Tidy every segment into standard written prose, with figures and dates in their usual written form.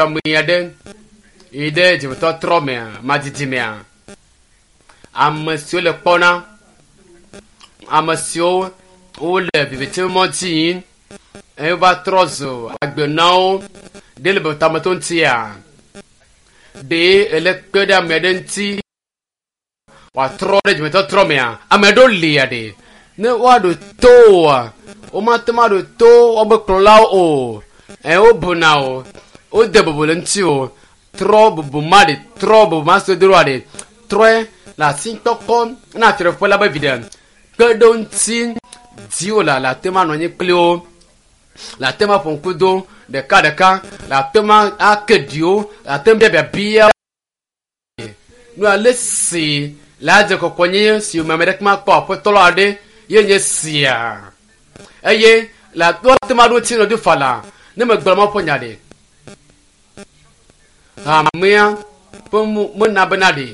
Ame aɖe yi ɖe dzimetɔtrɔ mea, madidi mea, ame siwo le kpɔna, ame siwo wole viviti mɔ dzi yim eye wova trɔ zu agbe na wo ɖe le tameto ŋutia? Ɖe ele kpe ɖe ame aɖe ŋuti wòatrɔ ɖe dzimetɔtrɔ mea? Ame aɖewo lia ɖe ne woaɖo to woa, womate ŋu aɖo to woƒe kplɔlawo o. Eye wobuna o, wode bubu le ŋuti o. Trɔ bubu ma ɖe, trɔ bubu ma si wodo ɖoa ɖe, trɔe le asikpɔkpɔ na fiaɖuƒe la be viɖe. Kpe ɖe wo ŋuti dziwò la, le ate ŋu anɔ anyi kpli wo, le ate ŋu aƒo ŋku do ɖekaɖeka, le ate ŋu ake ɖi wo, le ate ŋu bia biabia nu ale si le adze kɔkɔnyenye si me ame ɖeke makpɔ aƒetɔ la aɖe ye nye sia. Eye le ate ŋu aɖo ŋuti nɔ fa la, ne megblɔ Mawu ƒe nya ɖe. Hamea ƒe mena bena ɖe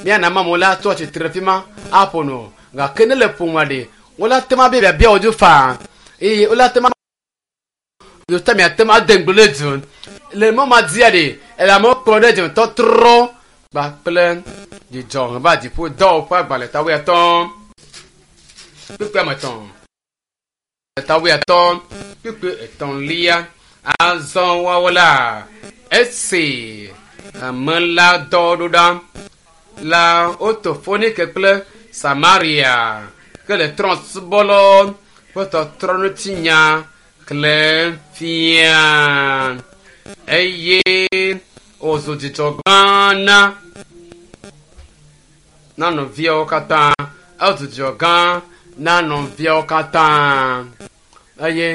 míana amewo la tɔ tsitre fi ma aƒo nu gake ne le ƒomea ɖe wole ate ŋu abia biabia wo dzo faa eye wole ate ŋu yota miate ŋu ade ŋugble ɖe du le mɔ ma dzia ɖe ele amewo kplɔ ɖe dzimetɔtrɔ kpakple dzidzɔ va dziƒo dɔwɔƒe agbalẽ ta wuiatɔ̃ kpukpui ame etɔ̃ ta wuiatɔ̃ kpukpui etɔ̃lia azɔ woawo la esi ame la dɔ ɖo ɖa la woto Fonike kple Samaria ke le trɔ̃subɔlawo ƒe tɔtrɔ ŋuti nya xlẽm fia eye wòzu dzidzɔ gã na na nɔviawo katã. Ezu dzidzɔ gã na nɔviawo katã eye.